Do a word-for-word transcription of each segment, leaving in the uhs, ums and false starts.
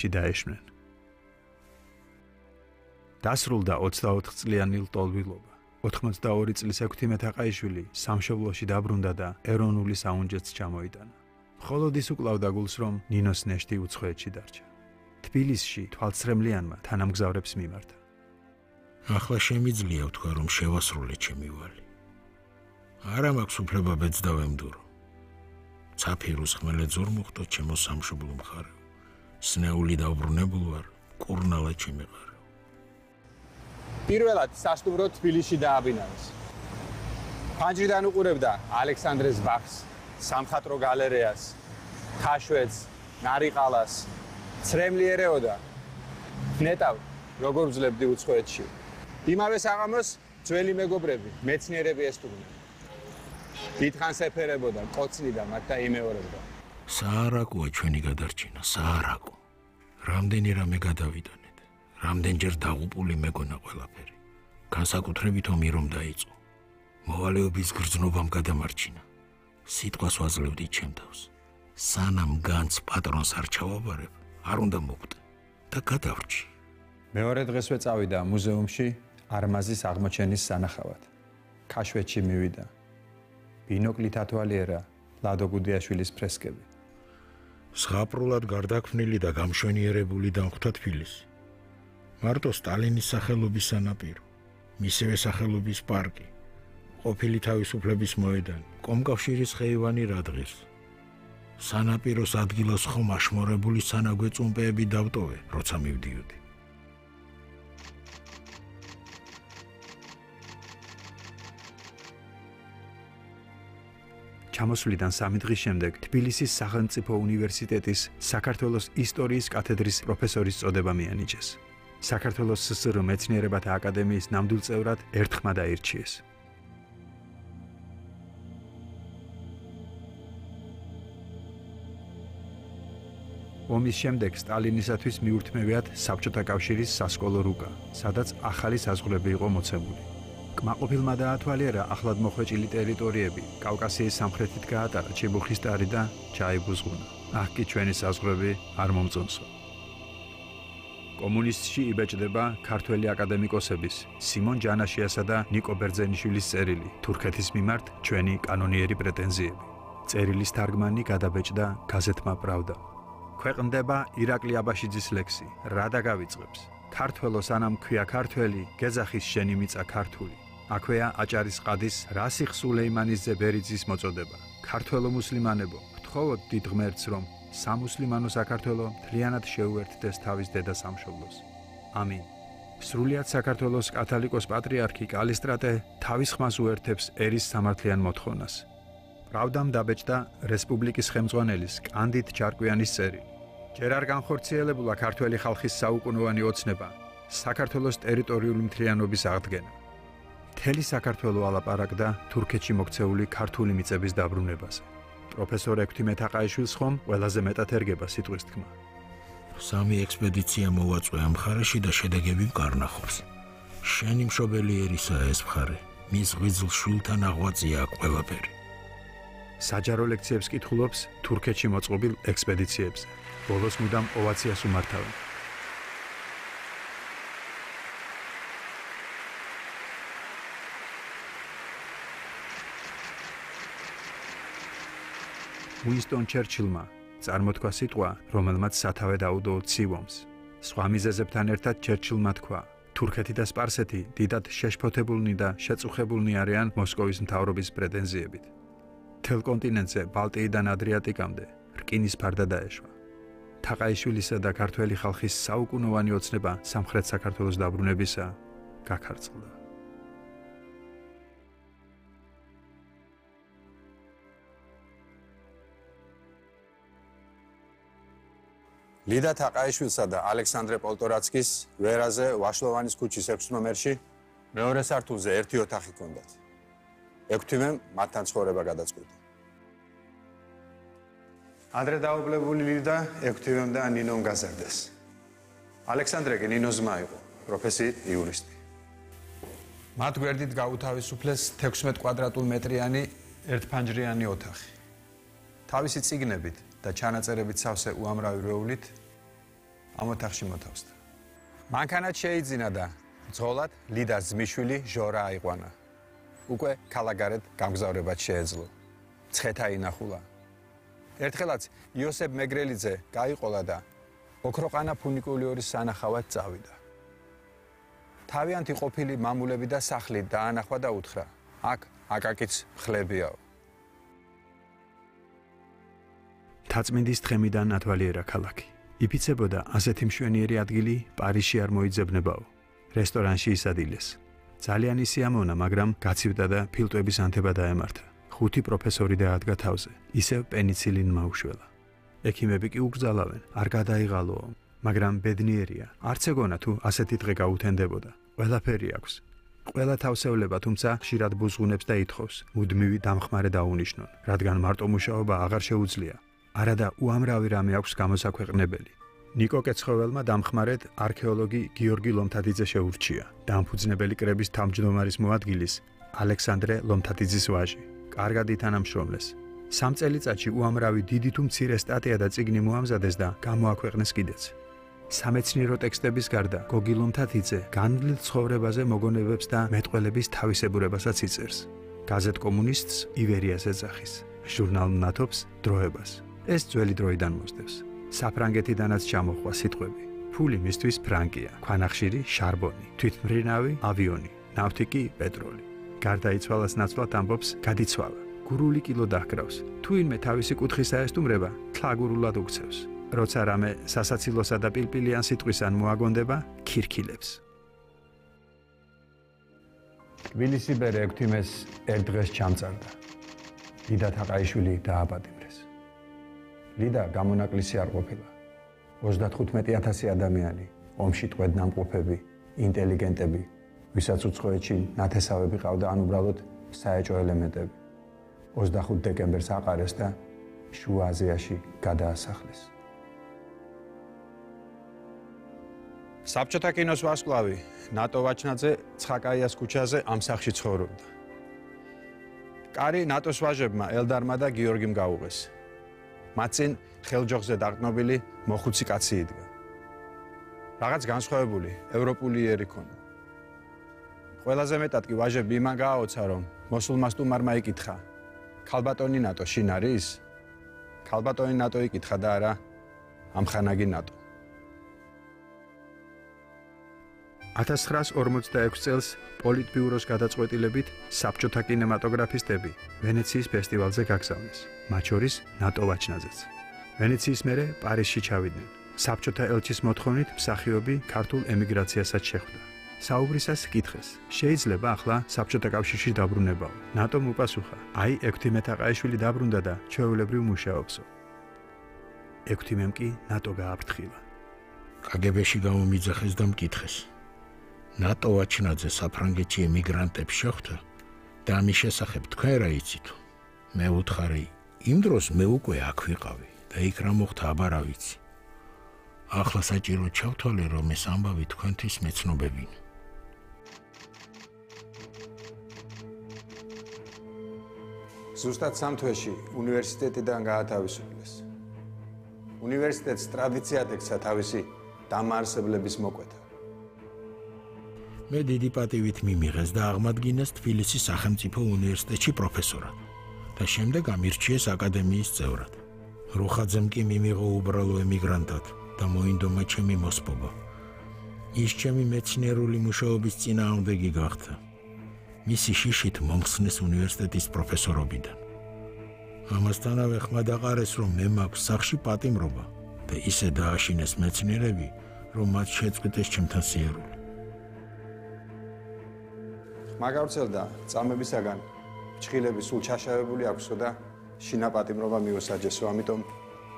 დაეშმნენ. დასრულდა ოცდაოთხ წლიანი ლტოლვილობა. ოთხმოცდაორი წლის ექვთიმე თაყაიშვილი სამშობლოში დაბრუნდა და ეროვნული საუნჯეც ჩამოიტანა. მხოლოდ ის უკლავდა გულს, რომ ნინოს ნეშტი უცხოეთში დარჩა. თბილისში თვალცრემლიანმა თანამგზავრებს მიმართა. ახლა შემიძლია ვთქვა, რომ შევასრულე ჩემი ვალი. არა მაქვს უფლება ბედს დავემდურო. ცაფირუს ხმელეთ ზურ მოხდო ჩემო სამშობლო მხარეო. სნეული დავბრუნებულ ვარ, კურნალა ჩემეყარეო. პირველად სასტუმრო თბილისში დააბინავეს. ფანჯრიდან უყურებდა ალექსანდრეს ბაღს, სამხატვრო გალერეას, ხაშვედს, ნარიყალას, ცრემლიერეოდა. ნეტავ, როგორ ვძლებდი უცხოეთში. იმავე საღამოს ძველი მეგობრები, მეცნიერები ესტუმრნენ. დიდხანს ეფერებოდა, კოცნიდა მათ და იმეორებდა. საარაკოა ჩვენი გადარჩენა, საარაკო. რამდენი რამე გადავიდანეთ. რამდენჯერ დაღუპული მეგონა ყველაფერი. განსაკუთრებით ომი რომ დაიწყო. მოვალეობის გრძნობამ გადამარჩინა. სიტყვას ვაძლევდი ჩემ თავს. სანამ განც პატრონს არ ჩავაბარებ, არ უნდა მოკვდე და გადავრჩი. მეორე დღესვე წავიდა მუზეუმში არმაზის აღმოჩენის სანახავად. ქაშვეთში მივიდა. ბინოკლით ათვალიერა ლადო გუდიაშვილის ფრესკები. ზღაპრულად გარდაქმნილი და გამშვენიერებული დამხვდა თბილისი. მარტო სტალინის სახელობის სანაპირო, მისივე სახელობის პარკი, ყოფილი თავისუფლების მოედანი, კომკავშირის ხეივანი რადღირს. სანაპიროს ადგილას ხომ აშმორებული სანაგვე წუმპეები დავტოვე, როცა მივდიოდი. ჩამოსვლიდან სამი დღის შემდეგ თბილისის სახელმწიფო უნივერსიტეტის საქართველოს ისტორიის კათედრის პროფესორის წოდება მიანიჭეს. საქართველოს სსრ მეცნიერებათა აკადემიის ნამდვილ წევრად ერთხმად აირჩიეს. ომის შემდეგ სტალინისათვის მიურთმევიათ საბჭოთა კავშირის სასკოლო რუკა, სადაც ახალი საზღვრები იყო მოცემული. კმაყოფილმა დაათვალიერა ახლად მოხვეჭილი ტერიტორიები, კავკასიის სამხრეთით გაატარა ჩიბუხისტარი და ჩაიბუზღუნა. აქ კი ჩვენი საზღვრები არ მომწონსო. კომუნისტში იბეჭდება ქართველი აკადემიკოსების სიმონ ჯანაშიასა და ნიკო ბერძენიშვილის წერილი თურქეთის მიმართ ჩვენი კანონიერი პრეტენზიები. წერილის თარგმანი გადაბეჭდა გაზეთმა პრავდა. ქვეყნდება ირაკლი აბაშიძის ლექსი რა დაგავიწყებს. ქართველო სანამ ქვია ქართველი, გეძახის შენი მიწა ქართული. აქვეა აჭარის ყადის რასიხ სულეიმანიძე ბერიძის მოწოდება. ქართველო მუსლიმანებო, გთხოვოთ დიდ ღმერთს, რომ სამუსლიმანო საქართველო მთლიანად შეუერთდეს თავის დედა სამშობლოს. ამინ. სრულიად საქართველოს კათოლიკოს პატრიარქი კალისტრატე თავის ხმას უერთებს ერის სამართლიან მოთხოვნას. პრავდამ დაბეჭდა რესპუბლიკის ხელმძღვანელის კანდიდ ჩარკვიანის წერილი. ჯერ არ განხორციელებულა ქართველი ხალხის საუკუნოვანი ოცნება, საქართველოს ტერიტორიული მთლიანობის აღდგენა. მთელი საქართველო ალაპარაკდა თურქეთში მოქცეული ქართული მიწების დაბრუნებაზე. პროფესორ ექვთიმე თაყაიშვილს ხომ ყველაზე მეტად ერგება სიტყვის თქმა. სამი ექსპედიცია მოვაწვე ამ მხარეში და შედეგები ვკარნახობს. შენი მშობელი ერისაა ეს მხარე, მის ღვიძლ შვილთან აღვაწია ყველაფერი. საჯარო ლექციებს კითხულობს თურქეთში მოწყობილ ექსპედიციებზე. ბოლოს მუდამ ოვაციას უმართავენ. უინსტონ ჩერჩილმა წარმოთქვა სიტყვა, რომელმაც სათავე დაუდო ცივ ომს. სხვა მიზეზებთან ერთად ჩერჩილმა თქვა, თურქეთი და სპარსეთი დიდად შეშფოთებულნი და შეწუხებულნი არიან მოსკოვის მთავრობის პრეტენზიებით. მთელ კონტინენტზე ბალტიიდან ადრიატიკამდე რკინის ფარდა დაეშვა. თაყაიშვილისა და ქართველი ხალხის საუკუნოვანი ოცნება სამხრეთ საქართველოს დაბრუნებისა გაქარწყლდა. ლიდა თაყაიშვილსა და ალექსანდრე პოლტორაცკის ვერაზე ვაშლოვანის ქუჩის ექვს ნომერში მეორე სართულზე ერთი ოთახი ჰქონდათ. ექვთიმემ მათთან ცხოვრება გადაწყვიტა. ადრე დაობლებული ლიდა ექვთიმემ და ნინომ გაზარდეს. ალექსანდრე კი ნინოს ძმა იყო, პროფესიით იურისტი. მათ გვერდით გაუთავისუფლეს თექვსმეტ კვადრატულ მეტრიანი ერთფანჯრიანი ოთახი. თავისი წიგნებით და ჩანაწერებით სავსე უამრავი რეულით ამ ოთახში მოთავსდა. მანქანაც შეიძინა და ძღოლად ლიდას ძმისშვილი ჟორა აიყვანა. უკვე ქალაქგარეთ გამგზავრებად შეეძლო. ცხეთა ინახულა. ერთხელაც იოსებ მეგრელიძე გაიყოლა და ოქროყანა ფუნიკულიორის სანახავად წავიდა. თავიანთი ყოფილი მამულები და სახლი დაანახვა და უთხრა: აქ აკაკიც ხლებიაო. თაწმინდის თხემიდან ათვალიერა ქალაქი. იფიცებოდა ასეთი მშვენიერი ადგილი პარიზში არ მოიძებნებაო. რესტორანში ისადილეს. ძალიან ისიამოვნა, მაგრამ გაცივდა და ფილტვების ანთება დაემართა. ხუთი პროფესორი დაადგა თავზე. ისევ პენიცილინმა უშველა. ექიმები კი უკრძალავენ, არ გადაიღალოო, მაგრამ ბედნიერია. არც ეგონა თუ ასეთი დღე გაუთენდებოდა. ყველაფერი აქვს. ყველა თავსევლება, თუმცა ხშირად ბუზღუნებს და ითხოვს, მუდმივი დამხმარე დაუნიშნონ, რადგან მარტო მუშაობა აღარ შეუძლია. არადა უამრავი რამე აქვს გამოსაქვეყნებელი. ნიკო კეცხოველმა დამხმარედ არქეოლოგი გიორგი ლომთათიძე შეურჩია, დამფუძნებელი კრების თავმჯდომარის მოადგილის ალექსანდრე ლომთათიძის ვაჟი. კარგად ითანამშრომლეს. სამ წელიწადში უამრავი დიდი თუ მცირე სტატია და წიგნი მოამზადეს და გამოაქვეყნეს კიდეც. სამეცნიერო ტექსტების გარდა გოგი ლომთათიძე განვლილ ცხოვრებაზე მოგონებებს და მეტყველების თავისებურებასაც იწერს. გაზეთ კომუნისტს ივერიას ეძახის, ჟურნალ ნათობს დროებას. ეს ძველი დროიდან მოსდევს. საფრანგეთიდანაც ჩამოხვა სიტყვები. ფული მისთვის ფრანკია, ქვანახშირი შარბონი, თვითმფრინავი ავიონი, ნავთი კი პეტროლი. გარდაიცვალას ნაცვლად ამბობს გადიცვალა. გურული კილო დაჰკრავს. თუ ინმე თავისი კუთხის აესტუმრება, თლაგურულად უქცევს. როცა რამე სასაცილოსა და პილპილიან სიტყვისან მოაგონდება, ქირქილებს. თბილისი ბერ ექვთიმეს ერთ დღეს ჩამწარდა. ლიდა თაყაიშვილი დააპატიმრეს. ლიდა გამონაკლისი არ ყოფილა. ოცდათხუთმეტი ათასი ადამიანი, ომში ტყვედ ნამყოფები, ინტელიგენტები, ვისაც უცხოეთში ნათესავები ყავდა, ან უბრალოდ საეჭვო ელემენტები. ოცდახუთი დეკემბერს აყარეს და შუა აზიაში გადაასახლეს. საბჭოთა კინოს ვარსკვლავი ნატო ვაჩნაძე ცხაკაიას ქუჩაზე ამ სახლში ცხოვრობდა. კარი ნატოს ვაჟებმა ელდარმა და გიორგიმ გაუღეს. მათ წინ ხელჯოხზე დაყრდნობილი მოხუცი კაცი იდგა. რაღაც განსხვავებული, ევროპული იერი ქონდა. ყველაზე მეტად კი ვაჟები იმან გააოცა, რომ მოსულმა სტუმარმა იკითხა: ქალბატონი ნატო შინ არის? ქალბატონი ნატო იკითხა და არა ამხანაგი ნატო. ათას ცხრაას ორმოცდაექვსი წელს პოლიტბიუროს გადაწყვეტილებით საბჭოთა კინემატოგრაფისტები ვენეციის ფესტივალზე გაგზავნეს, მათ შორის ნატო ვაჩნაძეც. ვენეციის მერე პარიზში ჩავიდნენ. საბჭოთა ელჩის მოთხოვნით მსახიობი ქართულ ემიგრაციასაც შეხვდა. საუბრისას კითხეს: შეიძლება ახლა საბჭოთა კავშირში დაბრუნებაო? ნატომ უპასუხა: აი, ექვთიმე თაყაიშვილი დაბრუნდა და ჩვეულებრივ მუშაობსო. ექვთიმემ კი ნატო გააფრთხილა. კაგებეში გამომიძახეს და მკითხეს: ნატო ვაჩნაძე საფრანგეთში ემიგრანტებს შეხვდა და ამის შესახებ თქვენ რა იცით? მე ვუთხარი: იმ დროს მე უკვე აქ ვიყავი და იქ რა მოხდა აბა რა ვიცი. ახლა საჭირო ჩავთვალე, რომ ეს ამბავი თქვენთვის მეცნობებინა. ზუსტად სამ თვეში უნივერსიტეტიდან გაათავისუფლეს. უნივერსიტეტს ტრადიციად ექცა თავისი დამაარსებლების მოკვეთა. მე დიდი პატივით მიმიღეს და აღმადგინეს თბილისის სახელმწიფო უნივერსიტეტში პროფესორად და შემდეგ ამირჩიეს აკადემიის წევრად. რუხაძემ კი მიმიღო უბრალო ემიგრანტად და მოინდომა ჩემი მოსპობა. ის ჩემი მეცნიერული მუშაობის წინააღმდეგი გახდა. მისი შიშით მომხსნეს უნივერსიტეტის პროფესორობიდან. ამასთანავე ხმა დაყარეს, რომ მე მაქვს სახლში პატიმრობა და ისე დააშინეს მეცნიერები, რომ მათ შეწყვიტეს ჩემთან სიერული. მაგავრცელდა წამებისაგან ჩხილები სულ ჩაშავებული აქვსო და შინაპატიმრობა მიუსაჯესო, ამიტომ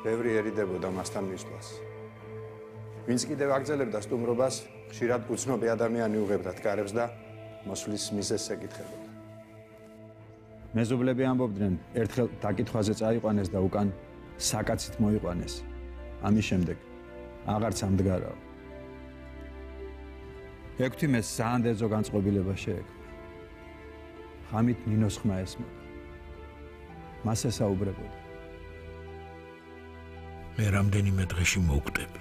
ბევრი ერიდებოდა მასთან მისვლას. ვინც კიდევ აგრძელებდა სტუმრობას, ხშირად უცნობი ადამიანი უღებდა თკარებს და მოსვლის მიზეზს ეკითხებოდა. მეზობლები ამბობდნენ, ერთხელ დაკითხვაზე წაიყვანეს და უკან საკაცით მოიყვანეს. ამის შემდეგ აღარც ამდგარაო. ექვთიმეს საანდერძო განწყობილება შეექმნა. ხამით ნინოს ხმა ესმოდა. მას ესაუბრებოდა. მე რამდენიმე დღეში მოვკვდები.